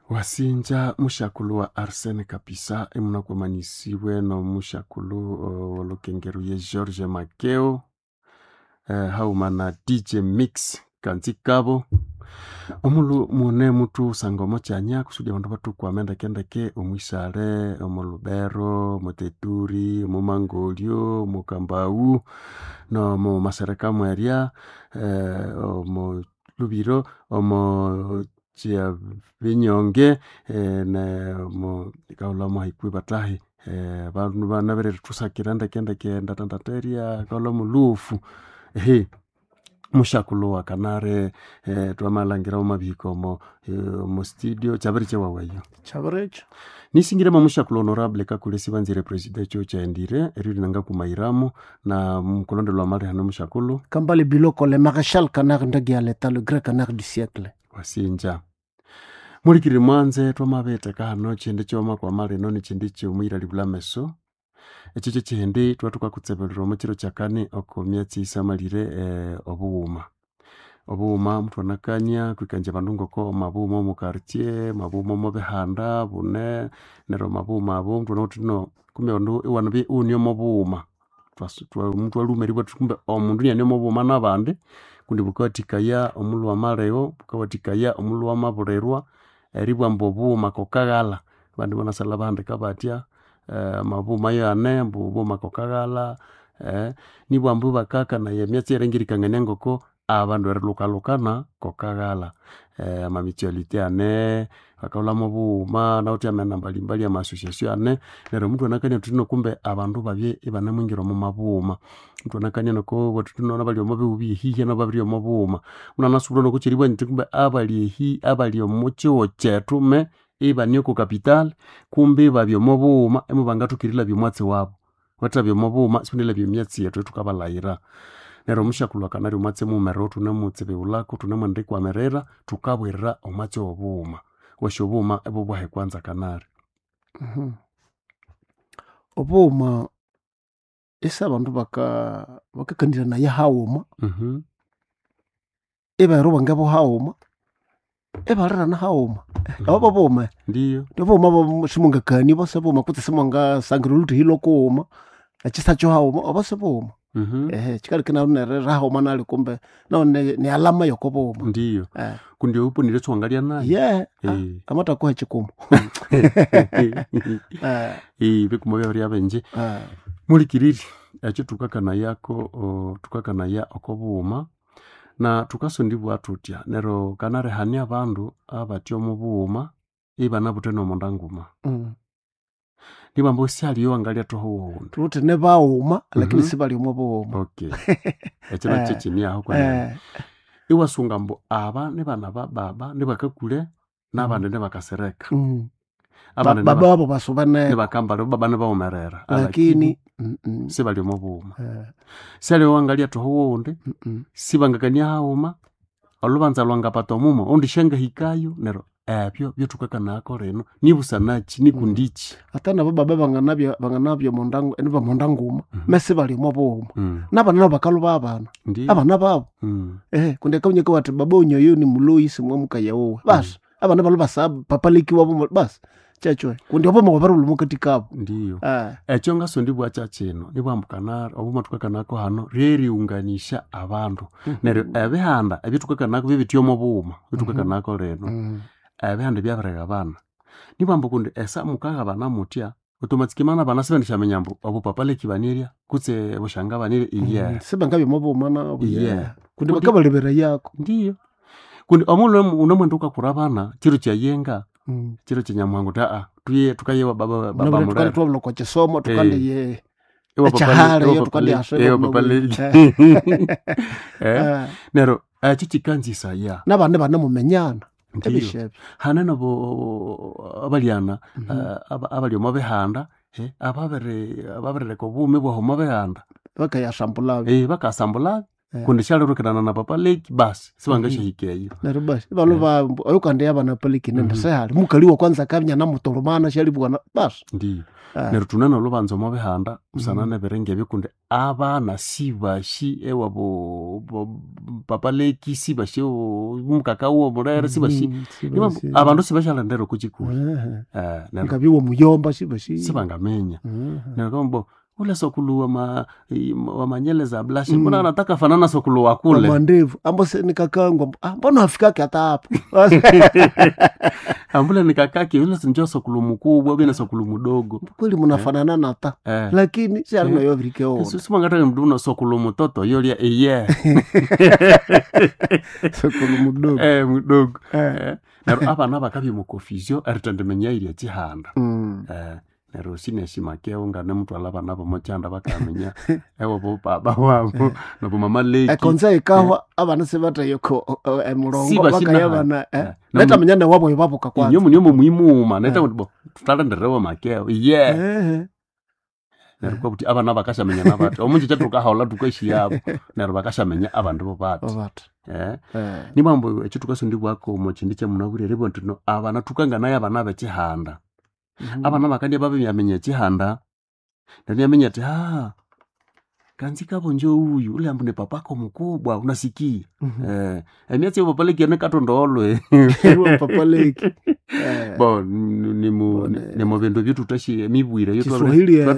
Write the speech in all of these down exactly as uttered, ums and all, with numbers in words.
Wasinja mushakulu wa Arsene Kapisa emunakwamanisibwe nomushakulu uh, wolukengero ye George Makeo eh, hauma na D J Mix kanzikabo omulu mune mutu sangomo kyanya kusudi abandu batukwame ndekendeke omwisale omulubero omuteturi omumangolyo omukambau nomu masereka mwerya eh, omu lubiro omo kyabinyonge eh, ne mo kaulamo haikwi batahi eh, bandu banabiririthusakira ndekendeke ndatandaterya kaulamo lufu ehe mushakulo wa kanare eh, twamalhangira omwabihika omo eh, omo studio kyabiri kyewawayo Kyabirikyo. nisingiremo mushakulo honorable kakule sibanzire president ekyo kyaendire eryo linangakumayiramo na mukulondelwa amali hano mushakulo Kambale Biloko, le maréchal canard ndagi ya l'état, le grand canard du siècle. Wasinja mulikirire mwanze twamabitheka hano kyindi kyoma kwamalino nikyindi kyomuyiralibula ameso ekyo kyekyindi twathukakutsebelera omo kiro kyakani oko myatsi isamalire eh, obughuma obughuma muthwanakania kwikanja abandu ngoko mabughuma omu quartier mabughuma omo bihanda bune neryo mabughuma abo muthwanawithe no kumbe abandu iwanabya ighune omo bughuma omundu alhume eribugha athi kumbe omundu iniane omo bughuma nabandi kundi bukawathikaya omulhu wamalegho bukawathikaya omulhu wamabulirwa eribugha ambu obughuma kokaghalha abandi ibanasalha bahandika batya eh, amabughuma yane ambu obughuma kokaghalha eh, nibugha ambu ibakakanaya emyatsi erilengekania ngoko abandu erilhukalhukana kokaghalha eh, ama mutualité ane bakaghulhamu obughuma nawithe amena mbalimbali ama association ane neryo muthwanakania thuthi no kumbe abandu babye ibanemwingira omo mabughuma muthwanakania noko thuthi nabali omo bihugho byehihya nabo babiribya omo bughuma munanasubura nokukyeribugha nyithi kumbe abali ehi abali omo kihugho kyethu me ibane oko capital kumbe ibabya omo bughuma imubangathoka erilabya omwatsi wabu bathabya omo bughuma sibanalabya emyatsi yethu eyathukabalhayira neryo omushakulhu akanalya omwatsi mughumerere thunemutsibiwulhako thunemwendikwamirira thukabwirira omwatsi wobughuma wasi obughuma ibobwahi kwanza kanali Mhm. Obughuma isi abandu baka bakakaniranaye haghuma Mhm. ibera obwenge buhaghuma ibalirana haghuma obo bughuma Ndiyo obughuma bo simungakania obo sibughuma kutse simungasangira olhuthehi lwokughuma ekisa kyohaghuma obo sibughuma Mhm. ehe kyikaleka inabya nerira haghuma nali kumbe nahu ne- ni alama yokobughuma Ndiyo eh. kundi obuponire esiwangalya nayo ye Eh. amatakuha ekikumu Eh, Eh, bikuma byabirya bingi eh. mulikiriri ekyo thukakanayako o, thukakanaya oko bughuma na thukasondibwa thuthya neryo kanarihania abandu abathya omo bughuma ibanabuthe nomonda nguma Mm. nibamba syaliyo wangalya thoho wowundi thuwithe nibaghuma lakini Mhm. sibali omo bughuma okay ekyo nakyo Eh, kyimyaho kwenene Eh, iwasunga ambu aba nibana ba baba nibakakule nabandi nibakasereka mm. abandi Ba- niba- baba wabo basubaneko nibakambala baba nibawumerera lakini mm, mm. sibali omo bughuma Eh, syaliyo wangalya thoho wowundi mm, mm. sibangakania haghuma olhubanza lwangapata omumo oundi syangahikayo neryo ebyo byethukakanayako lino nibusanaki nikundiki ata nabo baba banganabya banganabya munda nibamonda nguma Mhm. mesi bali omo bughuma Mm, nabana nabo bakaluba abana ndiyo abana babo Mm, ehe kundi akaunyeka wati baba unyoyo ni muloyi simwamukaye wowe basi abana balo basa papaleki wabo basi kyekyo kundi obo wabaruluma kati kabo ndiyo eh ekyo ngasondibwa kyakino nibwambukana obuma thukakanako hano ryeriunganisha abandu neryo ebihanda ebyethukakanako byebitya omo bughuma byethukakanako lino Mm. ebihanda byabirighabana nibwamba kundi esa mukaghabana mutya otomatsikimana abana sibendisyaminya ambu obupapaleki banirya kutse obushanga banirya iye Mm. sibangabya omo bughuma nabo Iye. yeah. kundi Kundi- bakabalebera yako ndiyo kundi omulhu unomwenda ukakura abana kiro kyayenga Mm. kiro kyanyamuhango ta aa tuye tukayewa baba baba Nabire murere tukali twabula kwa kisomo tukandi Ewa ekyahara papale- iyo ewa tukandi papale- aswe ewa baba papale- Eh, Eh, neryo ekyo kikanzisaya nabandi banemumenyana ndiyo ebisha ebyo hane nabo abalyana Mhm. eh, aba- abali omo bihanda eh, ababiri ababirileka obughumi bwahu omo bihanda bakayasambulabyo Eh, bakasambula Eh. Kundi syalirukirana na papa leki basi sibangashahika eyo. Neryo basi balo ba oyo kandi abana paliki nende Mhm. sehali mukali wa kwanza kamnya namutolomana syalibwana basi. Ndiyo. Eh. Neryo thune nolhubanza omo bihanda busana Mhm. nebiringa ebyo kundi abana sibashi ewabo bo- papa leki sibashi mukaka womulere sibashi. Mhm, Niba sibashi. abandu sibashalendera oko kikuli. Ehe. Eh, neryo Ngabiwa muyomba sibashi. sibangaminya. Mhm. Neryo kambo ule sokulu wa ma, wa manyele za blashi Mm. mbona anataka fanana sokulu wa kule. Mandevu ambo se nikakangwa ah, mbona afikake hata hapo. Ambule ni kakake yule sinjo sokulu mukubwa bina sokulu mudogo. Kweli munafanana nata Eh. lakini syali nayo virikeona. Simangataka mndu una sokulu mutoto yolya iye. Sokulu mudogo. Eh mudogo. Eh. Eh, neryo abana bakabya mu confusion erithendiminya irya chihanda. Mm. Eh, neryo sineshimakeo ngane mutwala abana bomo chihanda bakaminya ewabo baba wabo nabo mama leki. Ekonza ikahwa abana sibatayoko emulongo Siba sinaha. bakayabana eh. Eh. Netamenya newabo ibabuka kwanza. Inyo munyomo muimuma neta bo tutalenderewa makeo iye. Ehe. Neryo kwabuti abana bakashamenya nabati omunji kyathukahaula thukashiyabo neryo bakashamenya abandu bo bati. Babati. Eh. Eh. Nimambo ekyo thukasondibwako omo kyindi kyamunabwire eribugha nti no abana thukanganayo abana b'ekihanda. Mhm. Abana bakandya babimiaminya ekihanda neryo inaminya athi haa kanzi kabonje uyu ule ambu ni papako mukubwa unasikia. Mhm. Eh, emyatsi yobapaleki katonda olwe. Iwe papa leki. Eh. Bo nimu Bone. nimu bindu ebyothuthasi emibwire Kiswahili ekyo.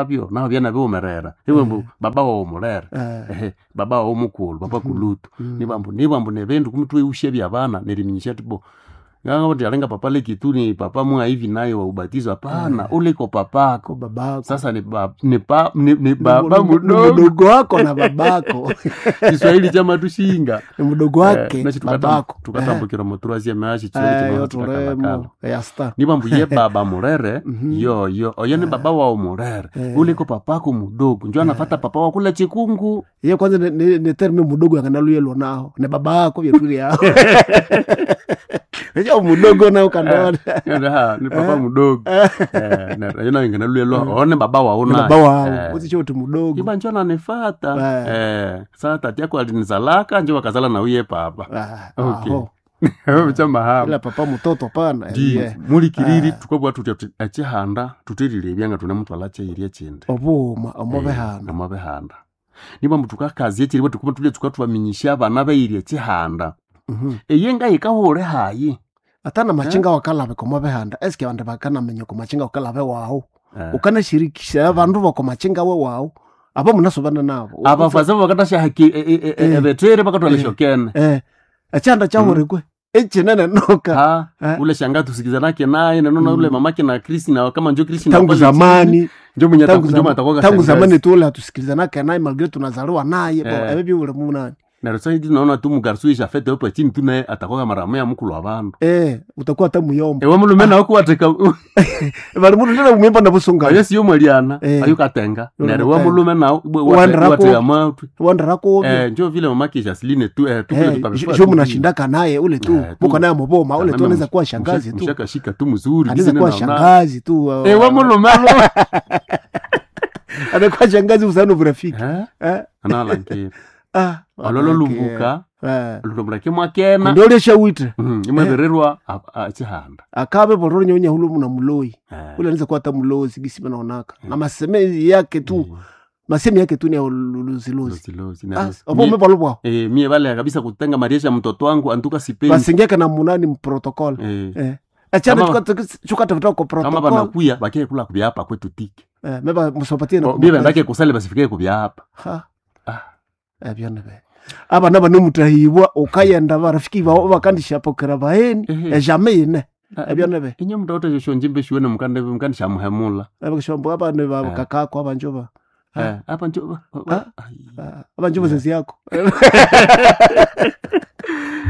eyo naho byanabiwumerera iwe mbu baba wawu mulere. Eh. Ehe, baba wawu mukulhu baba kulutu. Mm. Nibambu nibambu nebindu kumbi thweghusya byabana neriminyisya athi bo ngangabugha alinga papa leki tu ni papa mwa hivi naye wa ubatizo hapana Eh. uliko papako. Ko babako. Sasa ni ba, ni pa, ni, ni baba Ni mudogo. mdogo wako na babako. Kiswahili kyamathushinga. Ni mdogo wake Eh, babako. tukatambukira mu troisième age Eh, Kiswahili yo kino tulemo chikakalakala. ya star. Nibambu ye baba mulere Mhm. yoyo oyo ni baba wawu mulere Eh. uliko papako mudogo njo anafata papa wakule chikungu. Ye kwanza ni, ni, ni terme mudogo yanganaluyelwa naho ni babako byetuli yao. Ejo mudogo nao kandona. Ha, ni papa mudogo. Eh, neryo eyo nayo nganaluyelwa oyo ni baba wawu Ni naye. baba wao. Eh. Usicho uti mudogo. Iba njo ananifata. Eh. Eh, sasa tati yako alinizalaka njo wakazala na uye papa. Ah, Okay. aho. Kyamahamba. Ila papa mutoto pana. Ndi Yeah. mulikiriri Ah. thukabugha thuthi thuthi ekihanda thutherirebya nga thunemutwalha kyeyirya ekyindi. Obuuma omubihanda. Omo bihanda. Nibambu thukakazya ekyiribwa thukuba thulye thukathubaminyisya abana bayirya ekihanda. Mhm. Eyi ngayikahulha hayi. Ata na machinga wakalabe komabihanda eske abandu bakanamenya komachinga wakalabe wawu. Eh. Ukanashirikisha abandu bakomachinga we wawu abo munasobana nabo. Abafazi bakathasya Eh. ebethere bakathwala Eh. esyokene. Eh. Ekyanda kyahurekwe ekinene noka. Ha, Eh. ule shanga tusikizanake naye nenona Mm. ule mamake na Kristi na kama njo Kristi na Tangu pale zamani njo mwenye tangu ataku- njo zama- matakuwa tangu shangazi. zamani tule hatusikilizanake naye malgre tunazaliwa naye bo Eh. ebyo byule munani. Neryo saidi naona tu mugarsu fete opo chini tu naye atakuwa mara moya mukulu wa bandu. Eh, utakuwa hata muyomba. Ewe mulume nawe kuwatheka Bali mundu ndina muyomba na busunga. ayo siyo mwaliana Eh. ayo katenga Yule neryo we mutenga. mulume nawe Wandira ku- wateka matwi Wandira ko. eh njo vile mamake Jasline tu eh tu Eh, jo munashindaka naye ule tu Eh, tu. muko naye muboma ule tu anaweza kuwa shangazi tu mshakashika tu mzuri anaweza kuwa shangazi tu uh, ewe mulume alo anakuwa shangazi usano urafiki eh eh analangira ah ololo lumbuka eh lutomulake mwakena ndole shawite Mhm, imwebererwa ekihanda akabe boloro nyonya hulo muna muloi Eh, ule anaweza kuwa hata mulozi gisi naonaka na maseme yake tu eh, masemi yake tu ni ya luzilozi lozi, lozi. ah Neryo, obo mie- mebalo bwao eh, mie balea kabisa kutenga mariesha mtoto wangu antuka sipendi basingeka na munani mprotocol eh, eh achana Kama- chukata kwa kama protocol banakuya bakie kula kubyapa kwetu tiki eh meba musopatie na Bo, bie bendake kusale basifikie kubyapa ha Ah. ebyo nibe abana banemutahibwa ukayenda barafiki bawo bakandishapokera baheni Ehe. ejame ine ebyo nibe inye mndu ote shonjimbe shiwene mukande mukande shamuhemula abakishombo abana Eh. bakakako abanjoba Ah. eh apa njo Ah. Ai. abanjoba sesi yako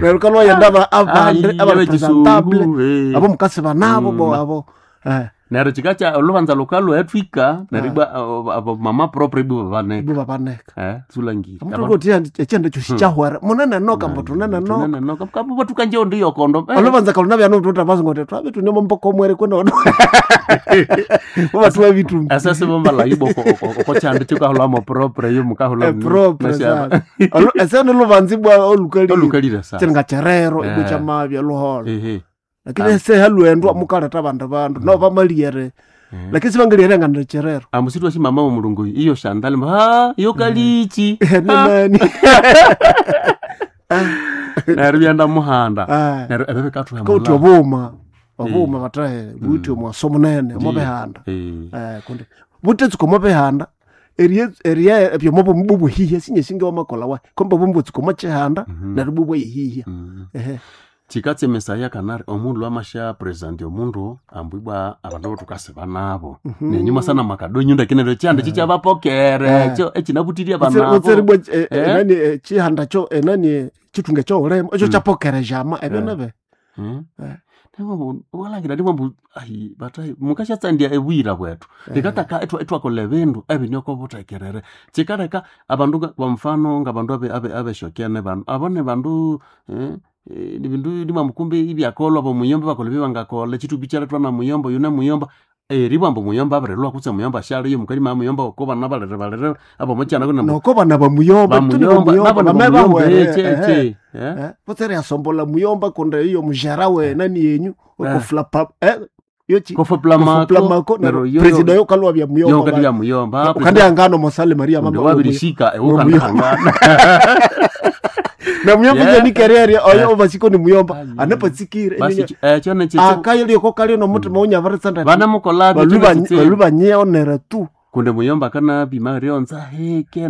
neryo kalwayenda aba- abandi Ai, abarepresentable abechisungu, eh. abo mukasiba nabo bo Mm. abo eh, Neryo kikakya olubanza lukalwa etwika neryo ibwa abo mama propre ibwa babaneka ibo babaneka eh sulangire amutokoti ekyanda kyosi kyahwera munene noka mbo tunene noka tunene noka kabuba tukanje ondi yokondo Eh, olubanza kaluna byano tuta bazi ngote twabe tune momboko omwere kwenda ono batuwa bitumbi asase bombala ibo okokyanda kikahulamo propre yo mukahula propre sana Olu- esene lubanza ibwa olukalire olukalire sa kyiringa kyerero ibwa Eh. kyamabya luholo ehe lakini seha lwendwa mukaleta bandu bandu no bamaliere lakini sibangaliere ngana kyerero amusitu ashi mama wa mulungu iyo shandali ha iyo kalichi nenani neryo byanda muhanda Ah. neryo ebyo bikathuha kauti mulala. obuma obuma batahe buti omwaso munene omobihanda Eh. Eh, kundi butetsuka omobihanda erie erie ebyomo bumubuhihya sinye singe wamakola wa komba bumbutsuka omochihanda neryo bubwayihihya Mm. ehe chikatse mesaya kanari omundu amasha president omundu ambwibwa abandu botukasiba nabo nenyuma sana makadonyo ndakinero kyanda chikyabapokere ekyo ekinabutirie abanabo utseribwa Eh? enani eh, chihanda cho enani chitunga choulema ekyo kyapokere jama ebyo nebe Hmm? Eh. Nemo walangira ndimwe mbu ayi batai mukashatsandia ebwira bwetu likataka etwa etwakola ebindu ebinoko butekerere chikaleka abandu nga- kwa mfano nga bandu abe abe abeshokene bandu abone bandu eh, eh, ni bindu ndimwe mukumbi ibyakolwa bomuyomba bakola bibangakola chitubi kyaletwa na muyomba yuna muyomba eribwamba muyomba abirilwa kutse muyomba shaliyo mukalima muyomba oko bana balere balere abomochana kuna noko bana bamuyomba tuni bamuyomba bamuyomba nabo bame bamuyomba bahwere eche ehe. eche eh Eh, butsere yasombola muyomba kundi iyo mujara we nani yenyu Eh. okuflapa eh yochi kofoplamako kofuplamako neryo yo- president yo kalwa bya yo muyomba kati ya muyomba kandi angano mosale maria mama wabirishika Muyomba. ewukandahangana na muyomba Yeah. yeah. ni kerere oyo obasiko ni muyomba Ayi. anepatsikire basi ekyo nekitsi akayo lyoko kalyo nomutima unyavaritsa vanamukolabyo balubanyia onera tu kundi muyomba kana bima ryonza heke